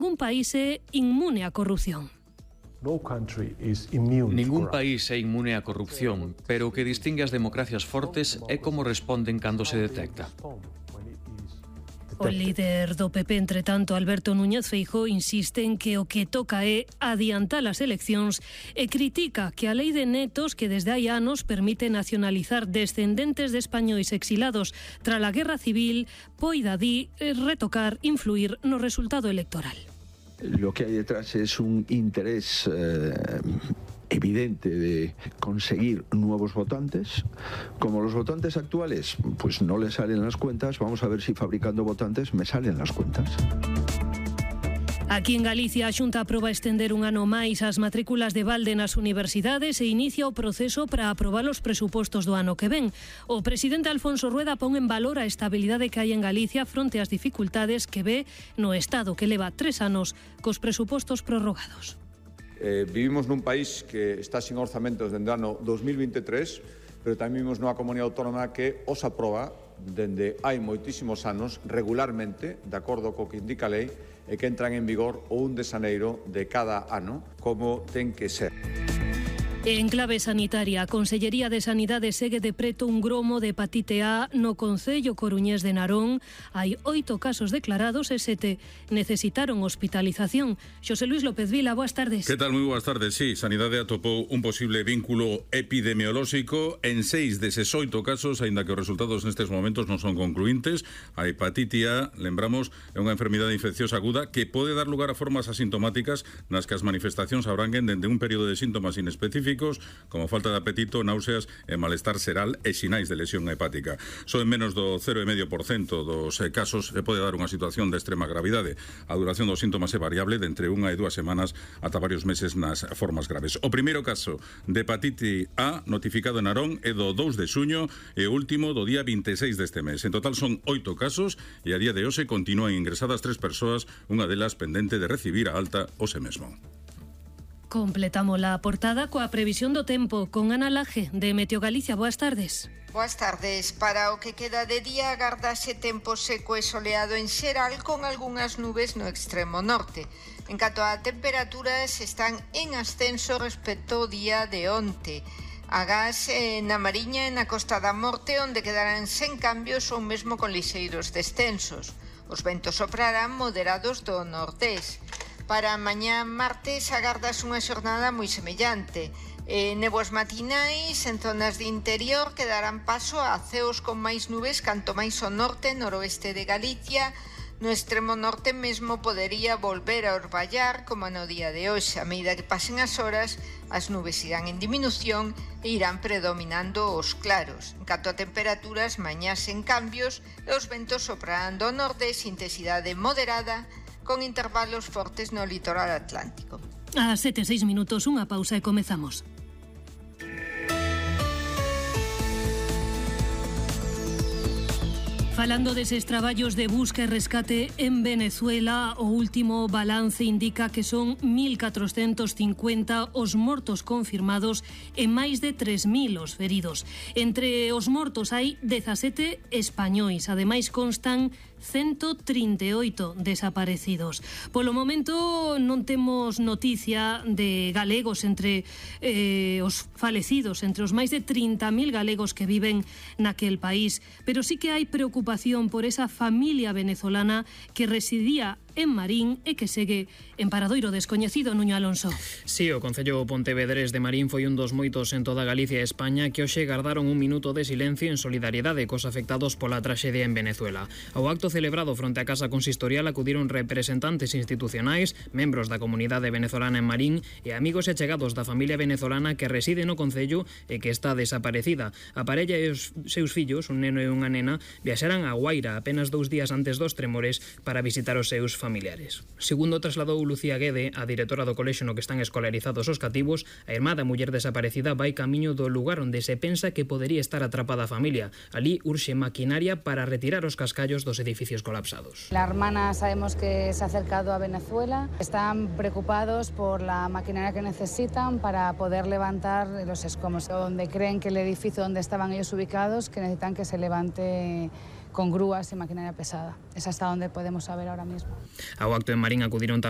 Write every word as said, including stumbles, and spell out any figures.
Ningún país é inmune á corrupción. Ningún país é inmune á corrupción, pero o que distingue as democracias fortes é como responden cando se detecta. O líder do P P, entre tanto, Alberto Núñez Feijóo, insiste en que o que toca é adiantar as eleccións e critica que a lei de netos que desde hai anos permite nacionalizar descendentes de españois exilados tras a Guerra Civil poida, di, retocar, influir no resultado electoral. Lo que hay detrás es un interés eh, evidente de conseguir nuevos votantes. Como los votantes actuales pues no les salen las cuentas, vamos a ver si fabricando votantes me salen las cuentas. Aquí en Galicia a Xunta aproba estender un ano máis as matrículas de balde nas universidades e inicia o proceso para aprobar os presupostos do ano que ven. O presidente Alfonso Rueda pon en valor a estabilidade que hai en Galicia fronte ás dificultades que ve no Estado, que leva tres anos cos presupostos prorrogados. Eh, vivimos nun país que está sin orzamentos dende o ano dos mil veintitrés, pero tamén vivimos nunha comunidade autónoma que os aproba dende hai moitísimos anos regularmente, de acordo co que indica a lei, e que entran en vigor o un de xaneiro de cada ano, como ten que ser. En clave sanitaria, a Consellería de Sanidade segue de preto un gromo de hepatite A no concello coruñés de Narón. Hai oito casos declarados e sete necesitaron hospitalización. Xosé Luis López Vila, boas tardes. Que tal? Moi boas tardes. Sí, Sanidade atopou un posible vínculo epidemiolóxico en seis deses oito casos, aínda que os resultados nestes momentos non son concluíntes. A hepatite A, lembramos, é unha enfermidade infecciosa aguda que pode dar lugar a formas asintomáticas nas que as manifestacións abranguen dende un período de síntomas inespecíficos como falta de apetito, náuseas e malestar xeral e sinais de lesión hepática. Só en menos do cero vírgula cinco por cento dos casos se pode dar unha situación de extrema gravidade. A duración dos síntomas é variable de entre unha e dúas semanas ata varios meses nas formas graves. O primeiro caso de hepatite A notificado en Narón é do dous de xuño e o último do día vinte e seis deste mes. En total son oito casos e a día de hoxe continúan ingresadas tres persoas, unha delas pendente de recibir a alta hoxe mesmo. Completamos la portada coa previsión do tempo con Ana Laje de Meteo Galicia. Boas tardes. Boas tardes. Para o que queda de día agardase tempo seco e soleado en xeral con algunhas nubes no extremo norte. En canto a temperaturas están en ascenso respecto ao día de onte. Agás eh, na Mariña e na Costa da Morte onde quedarán sen cambios ou mesmo con lixeiros descensos. Os ventos soprarán moderados do nordés. Para mañá martes agardas unha xornada moi semellante. Eh, néboas matinais en zonas de interior que darán paso a ceos con máis nubes canto máis ao norte e noroeste de Galicia. No extremo norte mesmo podería volver a orballar como no día de hoxe. A medida que pasen as horas, as nubes irán en diminución e irán predominando os claros. En canto a temperaturas, mañá sen cambios e os ventos soprarán do nordés, intensidade moderada, con intervalos fortes no litoral atlántico. A sete e seis minutos, unha pausa e comezamos. Falando deses traballos de busca e rescate en Venezuela, o último balance indica que son mil catrocentos cincuenta os mortos confirmados e máis de tres mil os feridos. Entre os mortos hai dezasete españois, ademais constan ciento trinta e oito desaparecidos. Polo momento non temos noticia de galegos entre eh, os falecidos, entre os máis de trinta mil galegos que viven naquel país, pero sí que hai preocupación por esa familia venezolana que residía en Marín e que segue en paradoiro descoñecido. Nuño Alonso. Sí, o Concello Pontevedrés de Marín foi un dos moitos en toda Galicia e España que hoxe gardaron un minuto de silencio en solidariedade cos afectados pola traxedia en Venezuela. Ao acto celebrado fronte á Casa Consistorial acudiron representantes institucionais, membros da comunidade venezolana en Marín e amigos e chegados da familia venezolana que reside no Concello e que está desaparecida. A parella e os seus fillos, un neno e unha nena, viaxaran a Guaira apenas dous días antes dos tremores para visitar os seus familiares. Segundo trasladou Lucía Guede, a directora do colexio no que están escolarizados os cativos, a irmá da muller desaparecida vai camiño do lugar onde se pensa que podería estar atrapada a familia. Alí urxe maquinaria para retirar os cascallos dos edificios colapsados. La hermana sabemos que se ha acercado a Venezuela. Están preocupados por la maquinaria que necesitan para poder levantar los escombros, donde creen que el edificio donde estaban ellos ubicados, que necesitan que se levante con grúas y maquinaria pesada. Es hasta donde podemos saber ahora mismo. Ao acto en Marín acudiron tamén